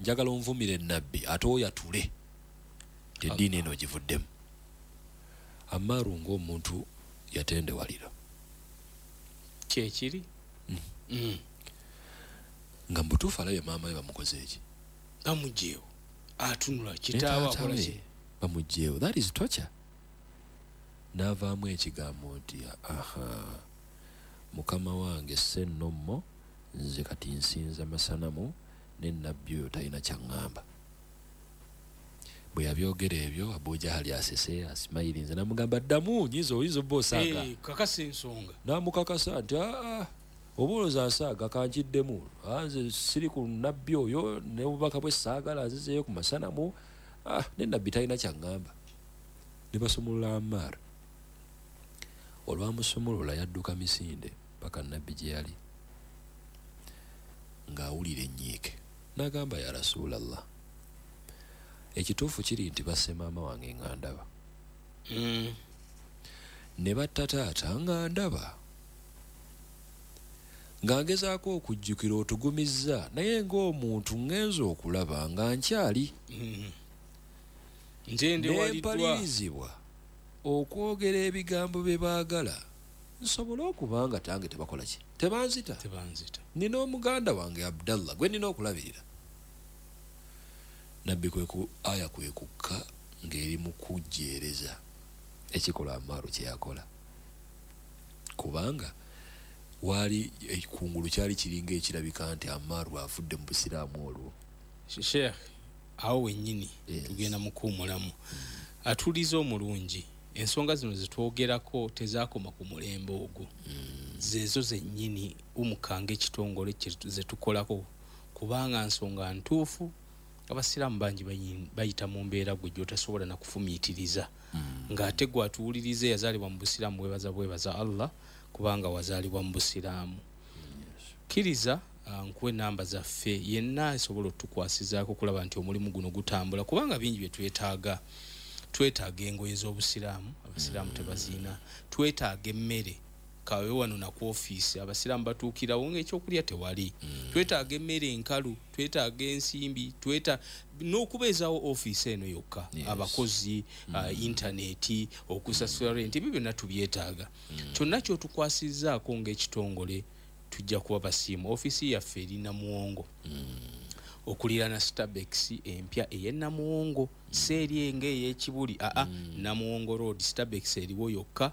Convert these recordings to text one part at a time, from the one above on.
Njagala onvumire nabbi ate oyatule nti eddiini eno ogivuddemu. Amaaru ng'omuntu yatendewalira. Kyekiri. Nga mu butuufu alabye maama we bamukoze eki? Bamuggyeewo. Atunula kitaawe akola ki? Bamuggyeewo. That is torture. N'avaamu ekigambo nti aha, mukama wange ssennommo, nze kati nsinza masanamu ne nabbi oyo talina kyaŋŋamba. Bwe yabyogera ebyo Abu Jahali asese asimayirinze n'amugamba ddamu nyiza oyinza obba osaaga. Kakasa ensonga. N'amukakasa nti aa oba olowooza nsaaga kankiddemu, nze siri ku nabbi oyo n'obubaka bwe saagala nzizeeyo ku masanamu, ne nabbi talina kyaŋŋamba. Ne basumulula Ammar. Olwamusumulula yadduka misinde paka nabbi gye yali ng'awulira ennyiike. N'agamba ya Rasulallah, ekituufu kiri nti basse maama wange nga ndaba. Ne batta taata nga ndaba. Nga ngezaako okujjukira otugumizza naye ng'omuntu ngenze okulaba nga nkyali. Nempalirizibwa okwogera ebigambo bye baagala nsobole okuba nga tange tebakola ki? Tebanzita. Nina omuganda wange Abdallah gwe nina okulabirira. Nabbi kwe ku aya kwe kukka ng'eri mu kujjeereza ekikolwa Ammaaru kye yakola. Kubanga waali ekungulu kyali kiringa ekirabika nti Ammaaru avudde mu busiraamu olwo. Sheikh, awo wennyini tugenda mu kuwummulamu. Atuuliza omulungi, ensonga zino zetwogerako tezaakoma ku mulembe ogwo. Zeezo zennyini umukanga ekitongole zetukolako kubanga nsonga ntuufu. Abasiraamu bangi bayita mu mbeera gwe gy'otasobola na kufumiitiriza. Ng'ate gwe atuwuliriza yazaalibwa mu busiraamu weebaza bwebaza Allah kubanga wazaalibwa mu busiraamu. Kkiriza nkuwe namba zaffe yenna asobola otukwasizaako okulaba nti omulimu guno gutambula kubanga bingi bye twetaaga. Twetaaga engoye z'obusiraamu, abasiraamu tebaziina. Twetaaga emmere, kawe wano na ku ofiisi abasiraamu batuukirawo ng'ekyokulya tewali. Twetaaga emmere enkalu, twetaaga ensimbi, n'okubeezaawo ofiisi eno yokka, abakozi, intaneti, okusasula rent, ebyo byonna tubyetaaga. Kyonna ky'otukwasizzaako ng'ekitongole tujja kuba basiimu. Ofiisi yaffe eri Namuwongo. Okuliraana Starbucks empya ey'e Namuwongo, si eri ng'ey'Ekibuli, Namuwongo Road, Starbucks eriwo yokka,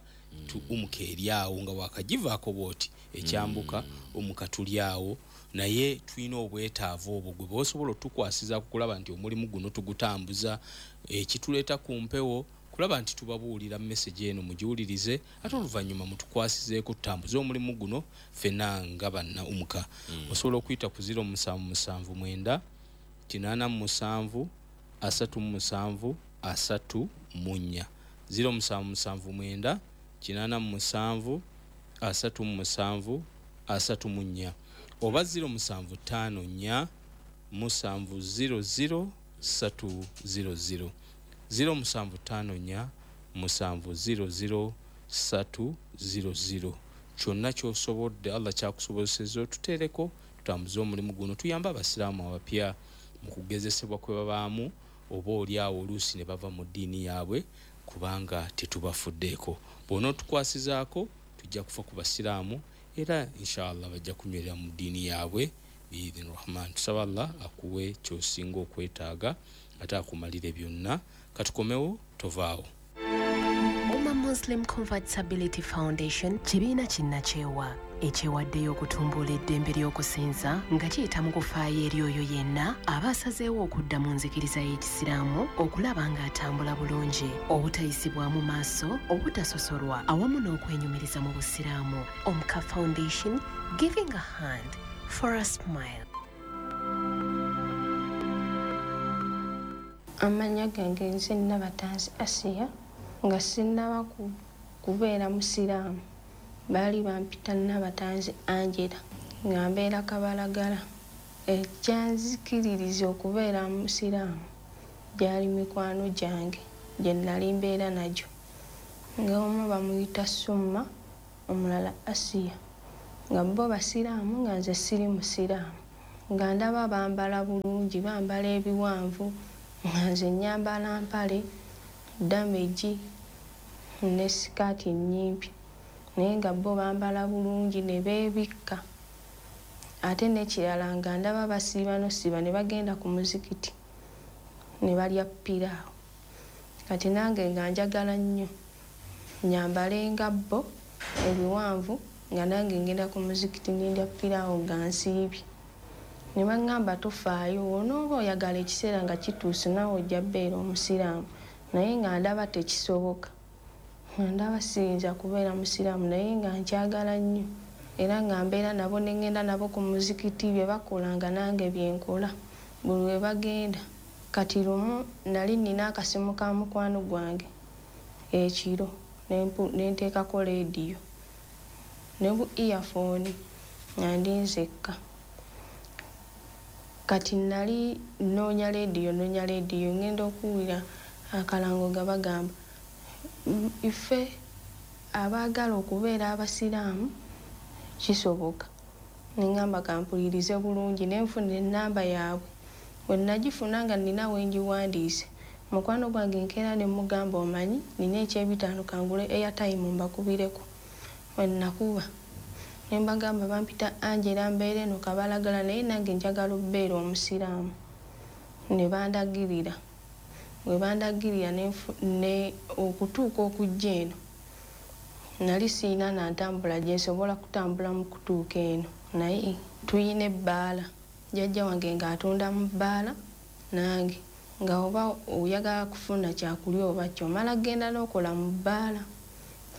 umuka eri awo nga wakagivaako bw'oti ekyambuka, umuka tuli awo. Naye tulina obwetaavu obwo gwe bw'osobola otukwasizaako okulaba nti omulimu guno tugutambuza, ekituleeta ku mpewo kulaba nti tubabuulira message eno mugiwulirize, ate oluvannyuma mutukwasizeeko tutambuze omulimu guno ffenna nga banna umuka. Osobola okuyita ku 0779 87 37 34 0779 87 37 34 oba 0754 700 300 0754 700 300. Kyonna ky'osobodde Allah kyakusobozesezza otuteereko tutambuze omulimu guno, tuyambe abasiraamu abapya mu kugezesebwa kwe babaamu oba oli awo oluusi ne bava mu ddiini yaabwe kubanga tetubafuddeeko. Bw'onootukwasizaako tujja kufa ku basiraamu era inshallah bajja kunywerera mu ddiini yaabwe biidhini Rahman. Tusaba Allah akuwe ky'osinga okwetaaga ate akumalire byonna. Katukomewo, tovaawo. Umma Muslim Convertibility Foundation kibiina kinnakyewa ekyewaddeyo okutumbula eddembe ly'okusinza nga kiyita mu kufaayo eri oyo yenna aba asazeewo okudda mu nzikiriza y'Ekisiraamu okulaba ng'atambula bulungi, obutayisibwamu maaso, obutasosolwa awamu n'okwenyumiriza mu Busiraamu. Omka Foundation, giving a hand for a smile. Amannya gange nze Nabatanzi Asiya, nga sinnaba kubeera musiraamu. Baali bampita Nabatanzi Angela, nga mbeera Kabalagala. Ekyanzikiririza okubeera musiraamu gyali mikwano gyange gye nali mbeera nagyo, nga omu bamuyita Summa, omulala Asiya, nga bo basiraamu nga nze siri musiraamu. Nga ndaba bambala bulungi, bambala ebiwanvu, nga nze nnyambala mpale damage ne sikaati nnyimpi, naye nga bo bambala bulungi ne beebikka. Ate n'ekirala nga ndaba basiiba n'osiiba ne bagenda ku muzikiti ne balya piraawo. Kati nange nga njagala nnyo nnyambale nga bo ebiwanvu, nga nange ngenda ku muzikiti ne ndya piraawo nga nsiibye. Ne baŋŋamba tofaayo, onooba oyagala ekiseera nga kituuse naawe ojja bbeera omusiraamu. Naye nga ndaba tekisoboka, nga ndaba siyinza kubeera musiraamu, naye nga nkyagala nnyo. Era nga mbeera nabo ne ŋŋenda nabo ku muzikiti, bye bakola nga nange bye nkola buli lwe bagenda. Kati lumu nali nnina akasimu ka mukwano gwange ekiro, ne nteekako leediyo ne bu earphone nga ndi nzekka. Kati nali nnoonya leediyo, ŋŋenda okuwulira akalango nga bagamba ffe abaagala okubeera abasiraamu kisoboka. Ne ŋŋamba kampulirize bulungi, ne nfuna ennamba yaabwe. Bwe nagifuna nga nnina we ngiwandiise, mukwano gwange nkeera ne mugamba omanyi nnina ekyebitaano kangule airtime mbakubireko. Bwe nakuba ne mbagamba bampita Angela, mbeera eno Kabalagala, naye nange njagala obbeera omusiraamu. Ne bandagirira. Bwe bandagirira ne okutuuka okujja eno nali siyina na ntambula gye nsobola kutambula mu kutuuka eno, naye tuyina ebbaala. Jjajja wange ng'atunda mu bbaala, nange nga oba oyagala kufuna kyakulya oba ki, omala genda n'okola mu bbaala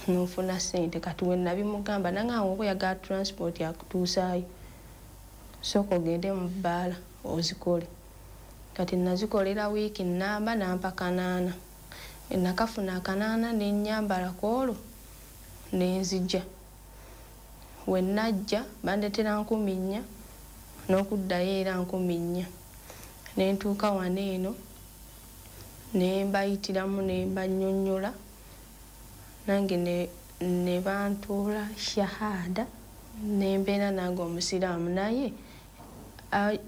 n'ofuna ssente. Kati we nabimugamba nangamba oba oyagala transport akutuusaayo, sooka ogende mu bbaala ozikole. Kati nazikolera wiiki nnamba n'ampa 8. Nakafuna 8 ne nnyambala ku olwo ne nzija. We najja bandeetera 4,000 n'okuddayo era 4,000. Ne ntuuka wano eno ne mbayitiramu ne mbannyonnyola, nange ne bantuula shahada ne mbeera nange omusiraamu. Naye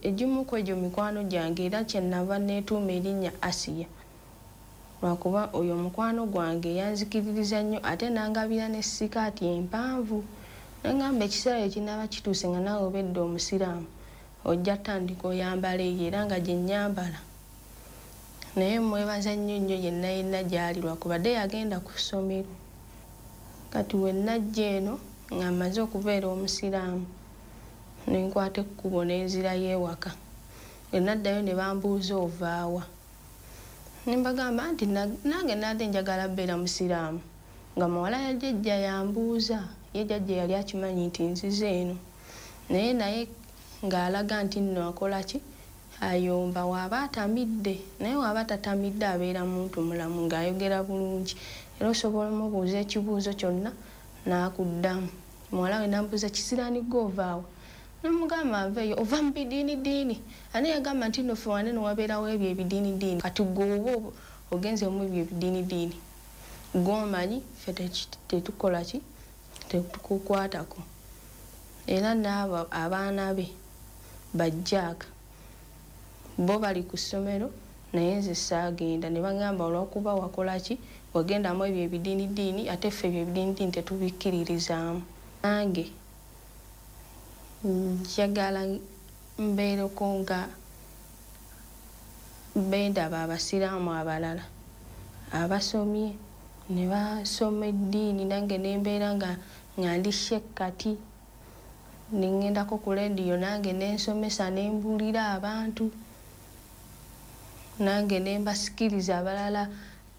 egimu ku egyo mikwano gyange, era kye nava neetuuma erinnya Asiya, lwakuba oyo mukwano gwange yanzikiririza nnyo, ate n'angabira ne sikaati empanvu. Nangamba ekiseera ekinaaba kituuse nga naawe obedde omusiraamu ojja tandika oyambala eyo, era nga gye nnyambala. Naye mwebaza nnyo nnyo yenna yenna gy'ali, lwakubadde yagenda ku ssomero. Kati we najja eno nga mmaze okubeera omusiraamu, ne nkwata ekkubo ne nzirayo ewaka. Bwe naddayo ne bambuuza ovaawa. Ne mbagamba nti nange nadde njagala bbeera musiraamu. Nga muwala ya jjajja yambuuza, ye jjajja yali akimanyi nti nzize eno. Naye ng'alaga nti nno akola ki? Ayomba waaba atamidde, naye waaba tatamidde abeera muntu mulamu ng'ayogera bulungi. Era osobola omubuuza ekibuuzo kyonna n'akuddamu. Muwala we n'ambuuza kisiraani gwe ovaawa? Ne mugamba nveeyo, ova mu bidiinidiini. Ani yagamba nti nno ffe wano eno wabeerawo ebyo ebidiinidiini? Kati ggwe oba ogenze mu ebyo ebidiinidiini, ggwe omanyi ffe tetukola ki? Tetukukwatako. Era n'abo abaana be bajjaaka bo bali ku ssomero, naye nze saagenda. Ne bagamba olw'okuba wakola ki? Wagendamu ebyo ebidiinidiini, ate ffe ebyo ebidiinidiini tetubikkiririzaamu. Nange njagala mbeereko nga bendaba abasiraamu abalala abasomye ne basoma eddiini, nange ne mbeera nga ndi shekkati, ne ŋŋendako ku leediyo nange ne nsomesa ne mbuulira abantu, nange ne mbasikiriza abalala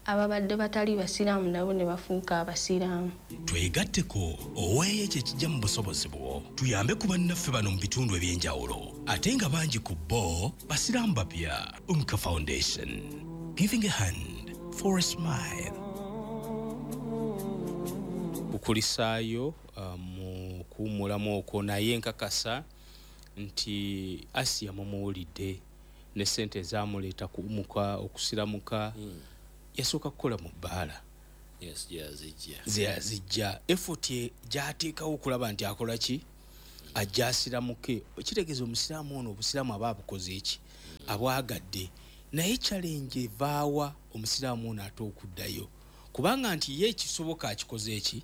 ababadde batali basiraamu nabo ne bafuuka abasiraamu. Twegatteko oweeyo ekyo ekijja mu busobozi bwo, tuyambe ku bannaffe bano mu bitundu eby'enjawulo, ate nga bangi ku bo basiraamu bapya. Umka Foundation, giving a hand for a smile. Kukulisaayo mu kuwummulamu okwo, naye nkakasa nti Asiya mumuwulidde ne ssente ezaamuleeta kuwumuka okusiramuka. Yasooka kukola mu bbaala. Yes, yazijja. Yazijja. Effort gy'ateekawo okulaba nti akola ki? Ajja asiramuke, kitegeeza omusiraamu ono obusiraamu aba abukoze eki, abwagadde. Naye challenge evaawa omusiraamu ono ate okuddayo, kubanga nti ye ekisoboka akikoze eki,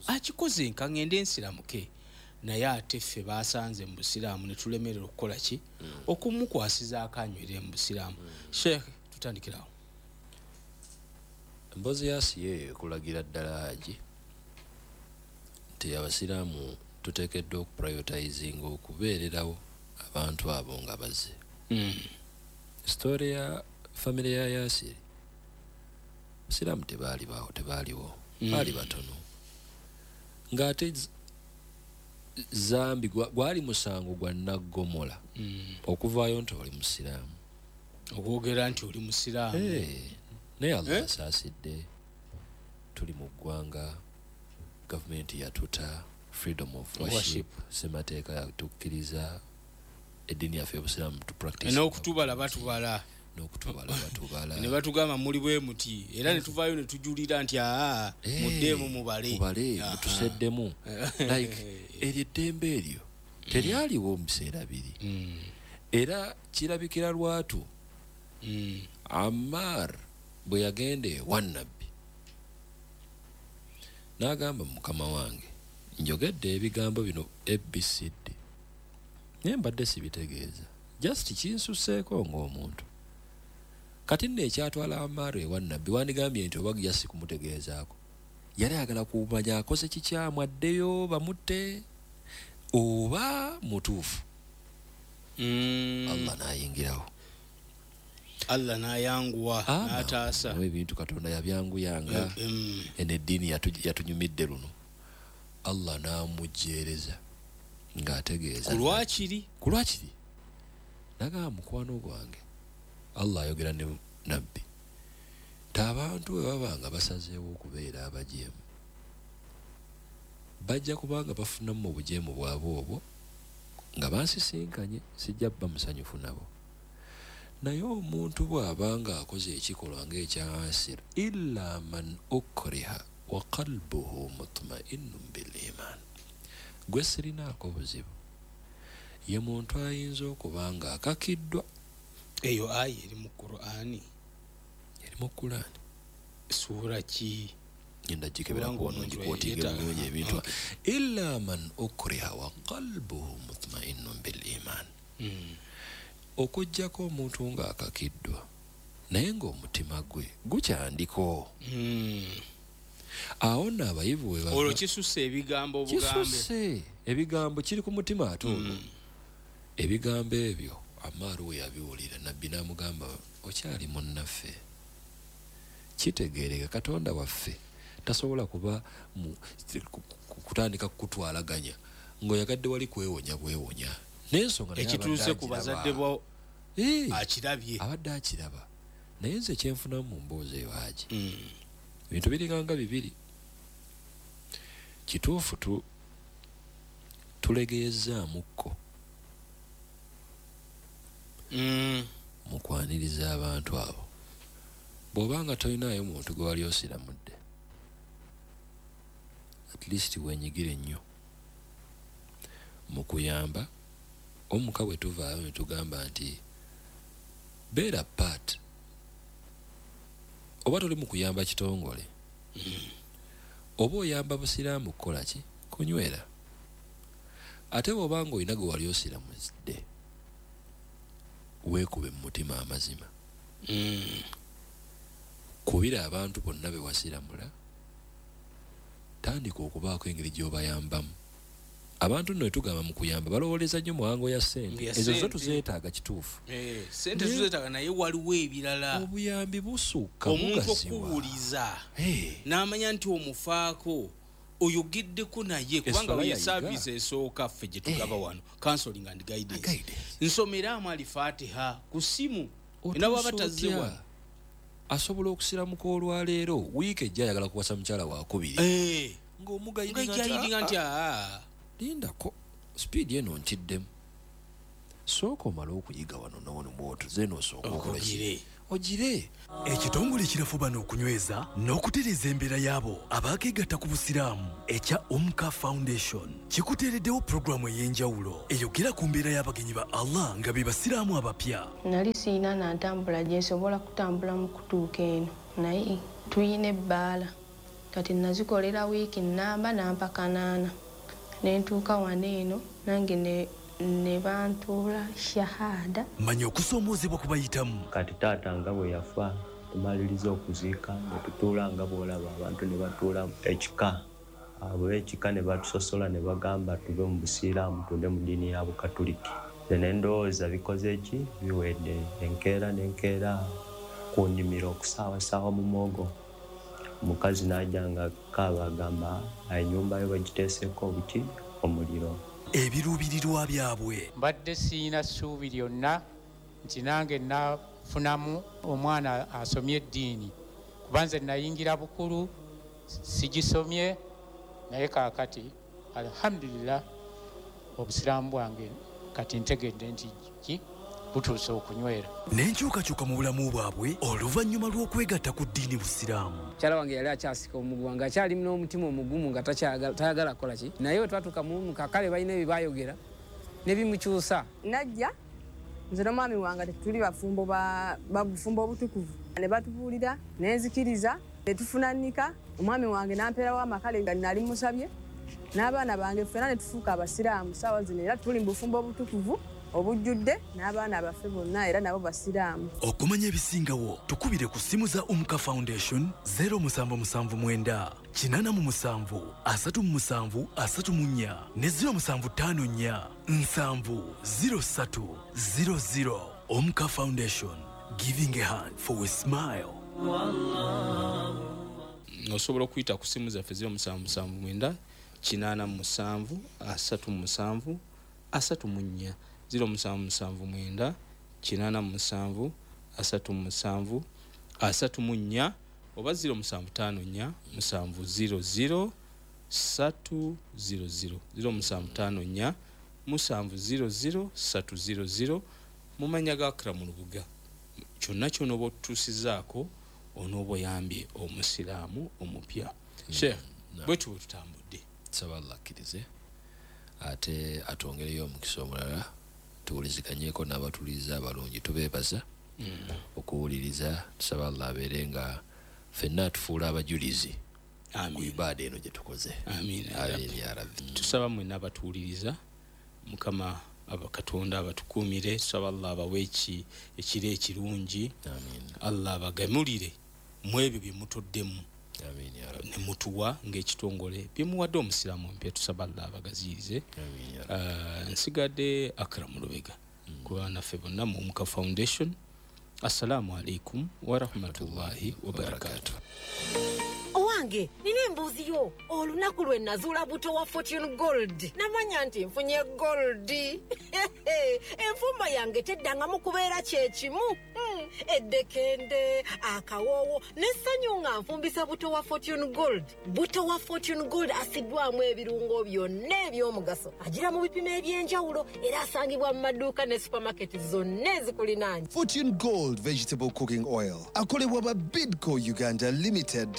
akikoze, nka ngende nsiramuke. Naye ate ffe basanze mu busiraamu ne tulemerera okukola ki, okumukwasizaako anywere mu busiraamu. Sheikh, tutandikirawo. Emboozi ya Asiya eyo ekulagira ddala, Haji, nti abasiraamu tuteekeddwa okuprioritizinga okubeererawo abantu abo nga bazze. Story ya famire ya Yasiri, abasiraamu tebaalibawo, tebaaliwo, baali batono, ng'ate zambi gwali musango gwa naggomola okuvaayo nti oli musiraamu, okwogera nti oli musiraamu. Naye Allah asaasidde, tuli mu ggwanga, gavumenti yatuta freedom of worship, semateeka yatukkiriza eddiini yaffe y'obusiraamu to practice. N'okutubala batubala. N'okutubala batubala. Ne batugamba muli bwe muti, era ne tuvaayo ne tujulira nti aa, muddeemu mubale. Mubale, mutuseddemu. Like eryo eddembe eryo teryaliwo mu biseera biri, era kirabikira lwatu. Ammar bwe yagenda ewa Nabbi n'agamba, "Mukama wange, njogedde ebigambo bino ABCD, naye mbadde sibitegeeza, just kinsuseeko ng'omuntu." Kati nno ekyatwala Ammar ewa Nabbi, wandigambye nti oba just kumutegeezaako, yali ayagala kumanya akoze kikyamu addeyo bamutte oba mutuufu. Allah n'ayingirawo. Allah n'ayanguwa n'ataasa. Ebintu Katonda yabyanguyanga, eno eddiini yatunyumidde luno. Allah n'amujjeereza ng'ategeeza kulwakiri. Kulwakiri nagamba, "Mukwano gwange," Allah ayogera ne Nabbi, nti abantu bwe baba nga basazeewo okubeera abajeemu, bajja kubanga bafunamu mu bujeemu bwabwe obwo nga bansisinkanye, sijja bba musanyufu nabo. Naye omuntu bw'aba nga akoze ekikolwa ng'ekya Asir, illa man ukriha wa qalbuhu mutma'innun bil iman, gwe sirinaako buzibu, ye muntu ayinza okuba nga akakiddwa. Eyo aya eri mu Qur'ani? Eri mu Qur'ani. Suura ki? Ngenda gikebera kuwano, ngikwotinga bulungi ebintu. Illa man ukriha wa qalbuhu mutma'innun bil iman, okuggyako omuntu ng'akakiddwa naye ng'omutima gwe gukyandiko. Awo nno abayivu we olwo kisusse ebigambo obugambe. Kisusse ebigambo, kiri ku mutima ate olwo. Ebigambo ebyo Amaaru we yabiwulira, Nabbi n'amugamba, "Okyali munnaffe, kitegeereka Katonda waffe tasobola kuba kutandika kukutwalaganya ng'oyagadde wali kwewonya bwewonya n'ensonga." Naye ekituuse abadde ku bazadde agiraba. bo akirabye. Abadde akiraba. Naye nze kyenfunamu mu mboozi eyo, Haji, ebintu biringanga bibiri. Kituufu tulegeyezaamukko mu kwaniriza abantu abo. Bw'obanga tolinayo muntu gwe wali osiramudde, at least wenyigire nnyo mu kuyamba omuka. Bwe tuvaayo ne tugamba nti beera part, oba toli mu kuyamba kitongole, oba oyamba busiraamu kukola ki, kunywera. Ate bw'obanga olina gwe wali osiramudde, weekube mu mutima amazima, kubira abantu bonna be wasiramula, tandika okubaako engeri gy'obayambamu. Abantu nno wetugamba mu kuyamba, balowooleza nnyo muwango ya ssente. Ya ezo zo ssente. Tuzeetaaga, kituufu. Sente tuzeetaaga, naye waliwo ebirala. Obuyambi busukka, omuntu bugaziwa. Okuwuliza n'amanya nti omufaako, oyogeddeko naye, kubanga Esswala ye yayiga. service esooka ffe gye tugaba wano, counseling and guidance. Guidance. Nsomeramu Alifatiha ku simu enaba Otuusa batazze otya? wano. Asobola okusiramuka olwaleero, wiiki ejja ayagala kuwasa mukyala wakubiri, ng'omugayidinga nga guidinga nti aa, lindako, sipiidi eno ntiddemu, sooka omale okuyiga wano nawano bwotuze noosooka okola ki? Okugire. Ogire. Ekitongole ekirafubana okunyweza n'okutereeza embeera y'abo abaakeegatta ku busiraamu ekya Umka Foundation kikuteereddewo puroguramu ey'enjawulo eyogera ku mbeera y'abagenyi ba Allah nga be basiraamu abapya. Nali siina nantambula gye nsobola kutambula mu kutuuka eno, naye tuyina ebbaala. Kati nazikolera wiiki nnamba nampa 8 ne ntuuka wano eno nange ne bantuula shahada. Manya okusoomoozebwa kubayitamu. Kati taata nga bwe yafa tumaliriza okuziika ne tutuula nga bw'olaba abantu ne batuula ekika, abo ekika ne batusosola ne bagamba tuve mu busiraamu tudde mu ddiini ya Bukatuliki. Nze ne ndowooza bikoze ki biwedde, enkeera n'enkeera ku nnimiro okusaawasaawa mu muwogo. Omukazi n'ajja nga kaaba agamba ennyumba yo bagiteeseeko obuki omuliro. Ebiruubirirwa byabwe. Mbadde siyina ssuubi lyonna nti nange nafunamu omwana asomye eddiini, kuba nze nayingira bukulu sigisomye, naye kaakati alhamdulillah obusiraamu bwange kati ntegedde nti ki butuuse okunywera. N'enkyukakyuka mu bulamu bwabwe oluvannyuma lw'okwegatta ku ddiini busiraamu. Mukyala wange yali akyasika omuguwa ng'akyali n'omutima omugumu nga tayagala kukola ki, naye bwe twatuuka mu kakale balina ebyo baayogera ne bimukyusa. Najja nze n'omwami wange tetuli bafumbo bufumbo obutukuvu, ne batubuulira ne nzikiriza ne tufunanika. Omwami wange n'ampeerawo amakale nga nali musabye n'abaana bange ffenna ne tufuuka abasiraamu. Ssaawa zino era tuli mu bufumbo obutukuvu obujjudde n'abaana baffe bonna era nabo basiraamu. Okumanya ebisingawo tukubire ku ssimu za Umka Foundation 0779 87 37 34 ne 0754 7 03 00. Umka Foundation, giving a hand for a smile. Osobola okuyita ku ssimu zaffe 0779 87 37 34 0779 87 37 34 oba 0754 700 300 0754 700 300 mu mannya ga Akram Lubuga. Kyonna kyonna oba otutuusizaako onooba oyambye omusiraamu omupya. Sheikh, bwe tuba tutambudde, nsaba Allah akkirize ate atwongereyo omukisa omulala tuwuliziganyeeko n'abatuwuliriza abalungi. Tubeebaza okuwuliriza, tusaba Allah abeere nga ffenna atufuula abajulizi ku ibaada eno gye tukoze. Amiina ya Rabbi. Tusaba mwenna abatuwuliriza Mukama Katonda abatukuumire, tusaba Allah abawe ekiro ekirungi. Allah abagamulire mu ebyo bye mutoddemu ne mutuwa ng'ekitongole bye muwadde omusiraamu omupya, tusaba Allah abagaziyirize. Nsigadde Akram Lubega kuba naffe bonna mu Umka Foundation. Assalamu alaikum warahmatullahi wabarakatuh. Owange, nina embuzi yo. Olunaku lwe nazuula buto wa Fortune Gold, namanya nti nfunye gold. Enfumba yange teddangamu kubeera kyekimu. Eddekende, akawoowo n'essanyu nga nfumbisa buto wa Fortune Gold. Buto wa Fortune Gold asiddwamu ebirungo byonna eby'omugaso, agira mu bipimo eby'enjawulo era asangibwa mu maduuka ne supermarket zonna ezikulinaanye. Fortune Gold Vegetable Cooking Oil akolebwa ba Bidco Uganda Limited.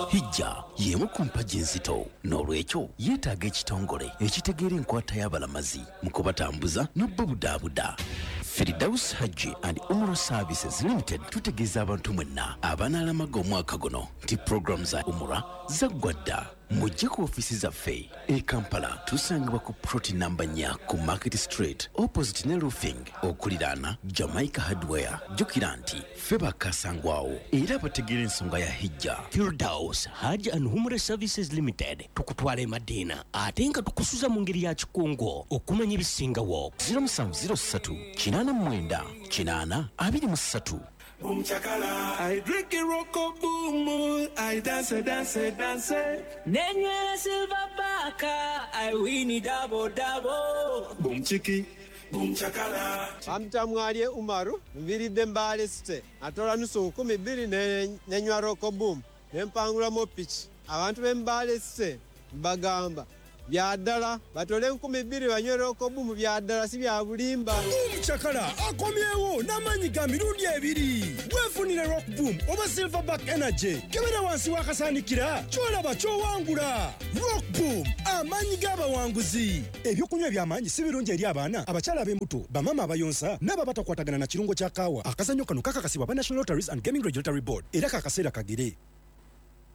Hijja y'emu ku mpagi enzito, n'olwekyo yeetaaga ekitongole ekitegeera enkwata y'abalamazi mu kubatambuza n'obubudaabuda. Firdaus Hajji and Umrah Services Limited tutegeeza abantu mwenna abanaalamaga omwaka guno nti puroguramu za Umrah zaggwa dda. Mujje ku ofiisi zaffe e Kampala, tusangibwa ku plot namba 4 ku Market Street opposite ne Roofing okuliraana Jamaica Hardware. Jjukira nti ffe bakasangwawo era bategeera ensonga ya hijja. Firdaus Hajj and Umrah Services Limited tukutwala e Madina ate nga tukusuza mu ngeri ya kikungo okumanya ebisingawo. 0703 89 8 23. Boom chakala, I drink a rocko boom, I dance, dance, dance. Nenywera silver baka, I win it double double. Boom chiki, boom chakala. Amtamwalye Umaru, nviridde Mbale City. Atola nusu 12 nenywa rocko boom. Nempangulamu piki. Abantu b'e Mbale City mbagamba Bya ddala, batole 2000 banywe Rock Boom, bya ddala si bya bulimba. Omucakala akomyewo n'amaanyi ga mirundi ebiri. Weefunire Rock Boom oba Silverback Energy. Kebera wansi w'akasaanikira, ky'olaba ky'owangula. Rock Boom, amaanyi g'abawanguzi. Ebyokunywa eby'amaanyi si birungi eri abaana, abakyala ab'embuto, bamaama abayonsa n'abo abatakwatagana na kirungo kya kaawa. Akazannyo kano kakakasibwa aba National Lotteries and Gaming Regulatory Board era kakaseera kagere.